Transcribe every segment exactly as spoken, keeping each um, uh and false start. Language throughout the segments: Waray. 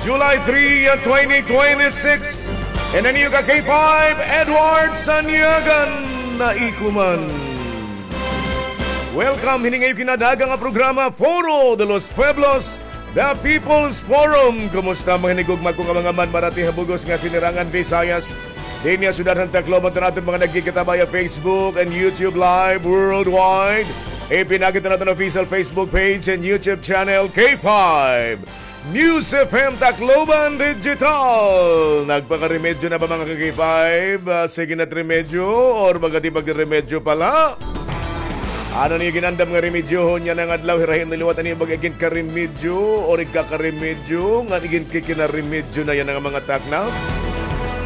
July three, twenty twenty-six. And an iyo ka K five, Edward Sanyagan na ikuman. Welcome, hini nga iyo kinadaga nga programa, Foro de los Pueblos, The People's Forum. Kumusta, mga hinigugma ko nga mga manmarati ha bug-os nga sinirangan Visayas? Dinhi ha syudad han Tacloban, hit aton mga nagkikita via Facebook and YouTube Live worldwide. Ipinagi hit aton official Facebook page and YouTube channel, K five News F M Tacloban Digital. Nagpakaremedyo na ba, mga ka-K five? Ah, sige na remedyo or magadi pagkaremedyo pala? Ano niyo ginandam nga remedyohon yana nga adlaw? Hirahin na liwat an iyo pag-igin karemedyo or igkakaremedyo, ngan igin kikinaremedyo na yana nga mga takna.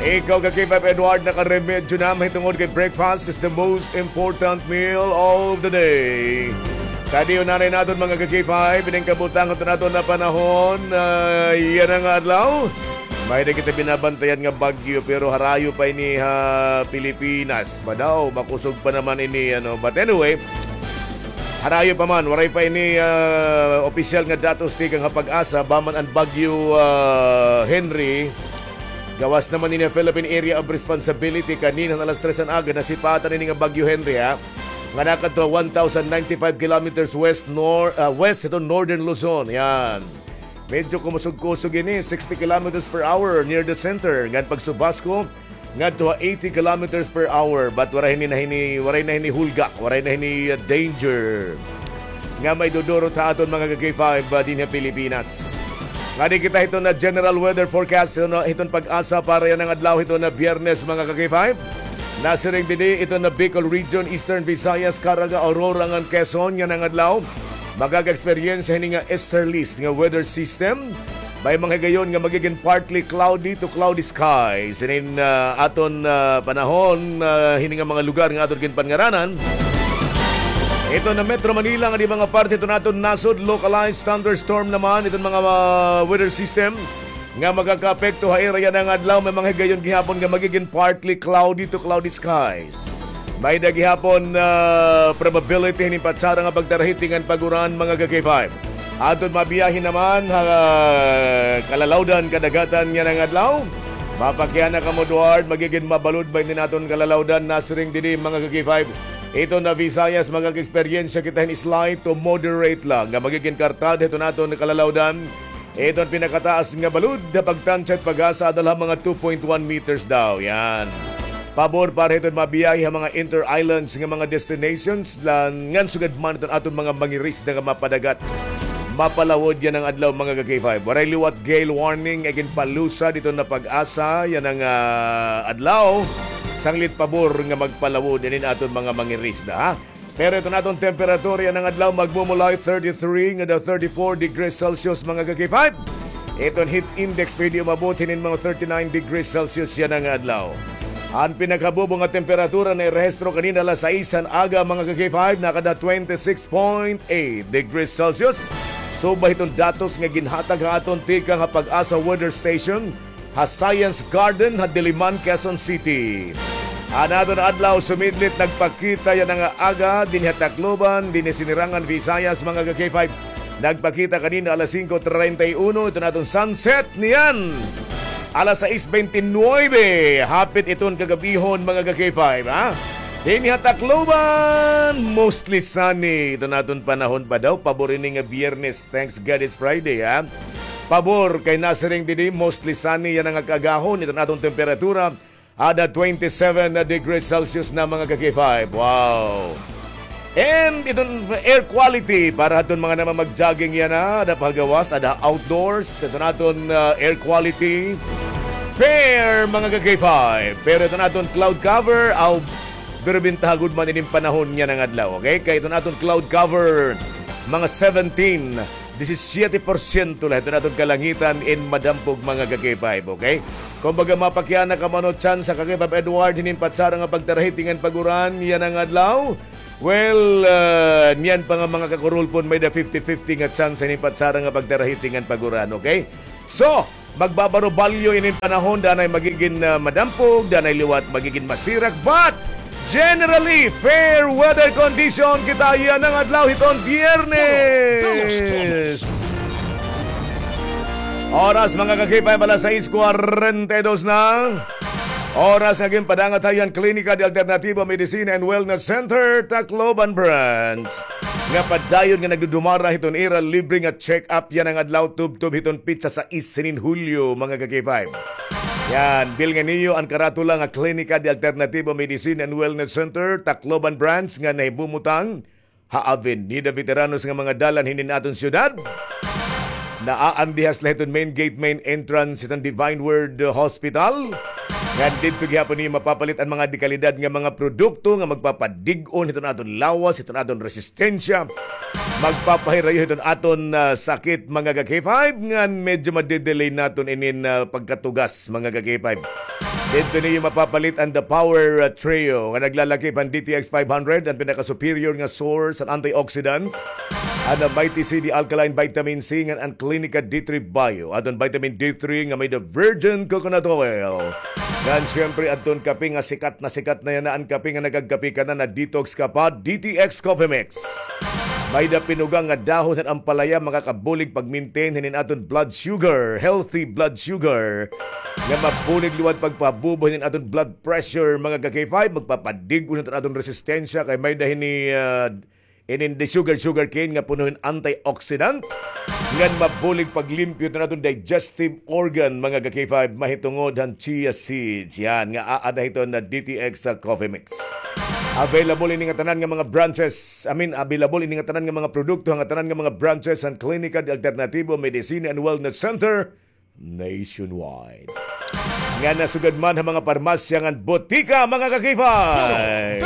Ikaw, ka-K five Edward, nakaremedyo na mahitungod kay breakfast is the most important meal of the day. Kadi unanay naton, mga ka-K five, ining kabutangan hit aton nga panahon, ah, yana nga adlaw. May-ada kita binabantayan nga bagyo, pero harayo pa ini ha Pilipinas. Ba daw, makusog pa naman ini, ano. But anyway, harayo pa man, waray pa ini, ah, opisyal nga datos tikang ha PAGASA, ba man an bagyo, ah, Henry. Gawas naman ini ha Philippine Area of Responsibility, kanina han alas tres han aga, nasipatan ini nga bagyo Henry, ha, nga nakadto one thousand ninety-five kilometers west, nor-, ah, west hiton Northern Luzon. Yan. Medyo kumusog-kusog ini, sixty kilometers per hour near the center. Ngan pagsubasko, ngadto ha eighty kilometers per hour. But waray hini na hini, waray na hini hulga, waray na hini, uh, danger nga maidudurot ha aton, mga ka-K five, uh, dinhi ha Pilipinas. Ngadi kita hiton nga general weather forecast, hiton, hiton PAGASA para yana nga adlaw, hiton nga Biyernes, mga ka-K five. Nasiring didi, hiton nga Bicol Region, Eastern Visayas, Caraga, Aurora, ngan Quezon yana nga adlaw, makaka-eksperyensya hini nga easterlies nga weather system. May mga higayon nga magigin partly cloudy to cloudy skies hinin, ah, aton, ah, panahon, ah, hini nga mga lugar nga aton ginpanngaranan. Hiton nga Metro Manila, ngadi mga parte hiton aton nasod, localized thunderstorm naman hiton mga, ah, weather system nga makakaapekto ha ira yana nga adlaw. May mga higayon gihapon nga magigin partly cloudy to cloudy skies. May-ada gihapon, ah, probability hinin patsara nga pagtarahiting ngan pag-uran, mga ka-K five. Aton mabiyahe naman ha kalalawdan, kadagatan yana nga adlaw. Mapakiana kamo, Edward, magigin mabalod ba ini aton kalalawdan? Nasiring didi, mga ka-K five. Hiton nga Visayas, makaka-eksperyensya kita hin slight to moderate la nga magigin kartad hiton aton kalalawdan. Iton pinakataas nga balod ha pagtansya hit PAGASA ada la ha mga two point one meters daw. Yan. Pabor para hiton mabiyahe ha mga inter-islands nga mga destinations la, ngan sugad man hiton aton mga mangirisda nga mapadagat, mapalawod yana nga adlaw, mga ka-K five. Waray liwat gale warning nga ginpalusad hiton nga PAGASA yana nga adlaw. Sanglit pabor nga magpalawod inin aton mga mangirisda, ha? Pero iton aton temperatura yana nga adlaw, magmumulay thirty-three ngada thirty-four degrees Celsius, mga ka-K five. Iton heat index pwede umabot hinin mga thirty-nine degrees Celsius yana nga adlaw. An pinakabubo nga temperatura nairehistro kanina alas sais han aga, mga ka-K five, nakada twenty-six point eight degrees Celsius. Subay hiton datos nga ginhatag ha aton tikang ha PAGASA Weather Station ha Science Garden ha Diliman, Quezon City. An aton adlaw sumidlit nagpakita yana nga aga dinhi ha Tacloban, dinhi Sinirangan, Visayas, mga ka-K five. Nagpakita kanina alas singko treinta y uno, iton aton sunset niyan alas sais bente nuebe. Hapit iton kagab-ihon, mga ka-K five, ha? Dinhi ha Tacloban, mostly sunny iton aton panahon pa daw. Pabor ini nga Biyernes. Thanks God it's Friday, ha? Pabor kay nasiring didi, mostly sunny yana nga kaagahon. Iton aton temperatura, ada twenty-seven degrees Celsius na, mga ka-K five. Wow! And iton air quality para aton mga naman mag-jogging yana, ada pa ha gawas, ada outdoors. Iton aton, ah, air quality, fair, mga ka-K five. Pero iton aton cloud cover, aw, pero bintaha gud man inin panahon yana nga adlaw, okay? Kay iton aton cloud cover, mga seventeen, disisiete porsyento la iton aton kalangitan in madampog, mga ka-K five, okay? Kumbaga, mapakiana kamo ano tsansa, ka-K five Edward, hinin patsara nga pagtarahiting ngan pag-uran yana nga adlaw. Well, ah, niyan pa nga mga kakurulpon, may-ada fifty fifty nga tsansa hinin patsara nga pagtarahiting ngan pag-uran, okay? So, magbabarobalyo inin panahon, danay magigin, ah, madampog, danay liwat magigin masirak, but generally, fair weather condition kita yana nga adlaw hiton Biyernes. Oras, mga ka-K five, alas sais kwarenta y dos na. Oras nga ginpadangat ha iyo han Klinika de Alternativo Medicina and Wellness Center, Tacloban Branch. Nga padayon nga nagdudumara hiton ira libre nga check-up yana nga adlaw, tubtob hiton petsa sais hinin Hulyo, mga ka-K five. Yan, bilngi niyo an karatula nga Klinika de Alternativo Medicina and Wellness Center, Tacloban Branch, nga nahibumutang ha Avenida Veteranos nga mga dalan hinin aton syudad. Naa an diha sila hiton main gate, main entrance hiton Divine Word Hospital. Ngan didto gihapon niyo mapapalit an mga dekalidad nga mga produkto nga magpapadig-on hiton aton lawas, hiton aton resistensya. Magpapahirayo hiton aton, ah, sakit, mga ka-K five, ngan medyo madedelay naton inin, ah, pagkatugas, mga ka-K five. Didto niyo mapapalit an The Power, uh, Trio nga naglalakip han D T X five hundred, an pinaka-superior nga source han antioxidant, an, uh, Mighty C D Alkaline Vitamin C, ngan an Clinica D three Bio, adton vitamin D three nga may-ada virgin coconut oil. Ngan siyempre, adton kape nga sikat na sikat na yana, an kape nga nagagkape ka na, na-detox ka pa, D T X Coffee Mix. May-ada pinugang nga dahon han ampalaya, makakabulig pag-maintain hinin aton blood sugar, healthy blood sugar. Nga mabulig liwat pagpabubo hinin aton blood pressure, mga ka-K five, magpapadig-on hiton aton resistensya, kay may-ada hini, ah, inin the sugar, sugar cane nga puno hin antioxidant. Ngan mabulig paglimpyo hiton aton digestive organ, mga ka-K five, mahitungod han chia seeds. Yan, nga aada hiton na D T X sa coffee mix. Available ini nga tanan nga mga branches, I mean, available ini nga tanan nga mga produkto, nga tanan nga mga branches han Klinika de Alternativo Medicina and Wellness Center nationwide. Nga nasugad man ha mga parmasya ngan botika, mga ka-K five.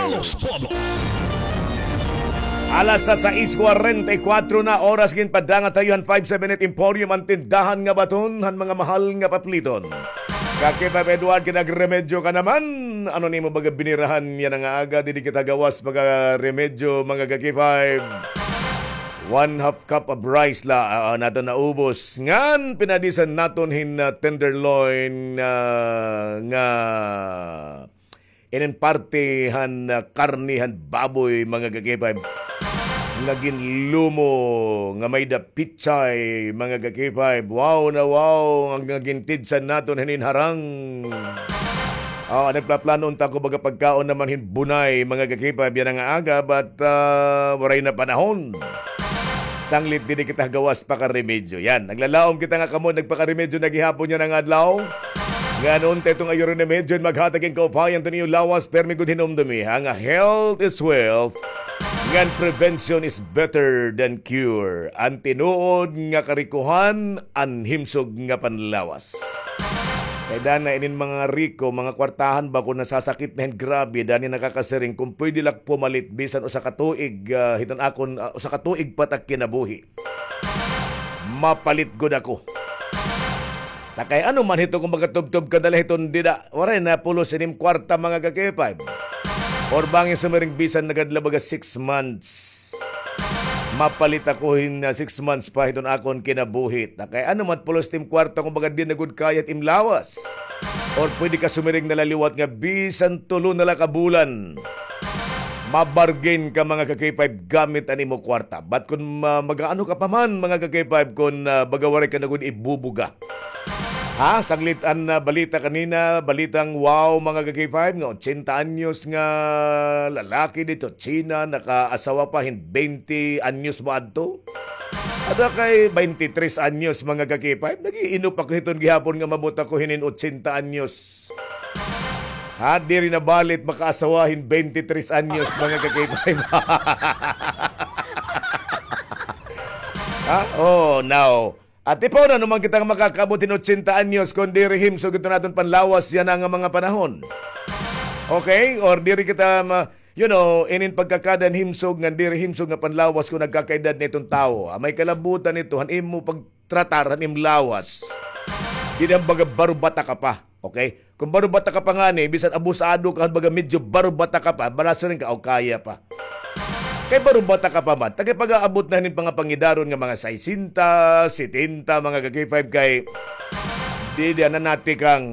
Alas sa sais kwarenta y kuwatro na oras, ginpadangat ha iyo han five seven eight Emporium, an tindahan nga baton han mga mahal nga papliton. Ka-K five Edward, kinagremedyo ka naman. Ano nimo baga binirahan yana nga aga, diri kita gawas pag-aremedyo, mga ka-K five. One half cup of rice la, ah, naton naubos. Ngan pinadisan naton hin, ah, tenderloin, ah, nga inin parte han, ah, karne han baboy, mga ka-K five. Nga ginlumo, nga may-ada pitsay, mga ka-K five. Wow na wow, nga gintidsan naton hinin harang. Ah, nagpaplano unta ko baga pagkaon naman hin bunay, mga ka-K five, yana nga aga, but, ah, waray na panahon. Sanglit diri kita gawas pakaremedyo. Yan, naglalaom kita nga kamo nagpakaremedyo na gihapon yana nga adlaw. Ngan unta iton nga iyo rin remedyo, maghatag hin kaupayan hiton iyo lawas, permi gud hinumdumi, ha, nga health is wealth, ngan prevention is better than cure. An tinuod nga karikohan, an himsog nga panlawas. Kay dana inin mga riko, mga kwartahan ba, kon nasasakit na hin grabe, dani nakakasiring, kon pwede la pumalit bisan usa ka tuig, ah, hiton akon, ah, usa ka tuig pa ta kinabuhi. Mapalit gud ako. Ta kay ano man hito kon magatubtob ka na la hiton dida, waray na pulos inim kwarta, mga ka-K five. Or bangin sumiring bisan nagad la baga six months. Mapalit ako hin, ah, six months pa hiton akon kinabuhi. Ta kay ano man pulos tim kwarta kon baga diri na gud kaya it im lawas. Or pwede ka sumiring na la liwat nga bisan tulo na la ka bulan. Mabargain ka, mga ka-K five, gamit an imo kwarta. But kon ma-, mag-aano ka pa man, mga ka-K five, kon, ah, baga waray ka na gud ibubuga. Ha? Sanglit an, ah, balita kanina, balitang wow, mga ka-K five, nga ochenta anyos nga lalaki didto China, nakaasawa pa hin baynte anyos ba adto? Ada kay baynte tres anyos, mga ka-K five. Nag-iinop ako hiton gihapon nga maabot ako hinin ochenta anyos. Ha, diri na balit makaasawa hin baynte tres anyos, mga ka-K five. Ha? Oh, now. At ipauna naman kita nga makakaabot hin ochenta anyos kon diri himsog iton aton panlawas yana nga mga panahon. Okay? Or diri kita ma-, you know, inin pagkakada hin himsog ngan diri himsog nga panlawas kon nagkakaedad na iton tawo. Ah, may kalabutan ito, han imo pagtratar han im lawas. Diri han baga baro-bata ka pa. Okay? Kon baro-bata ka pa ngani, bisan abusado ka, baga medyo baro-bata ka pa, balasiring ka, o kaya pa. Kay baro-bata ka pa man, ta kay pag-aabot na hin pangapangidaron nga mga sesenta, setenta, mga ka-K five kay, di, di, ana nati kang,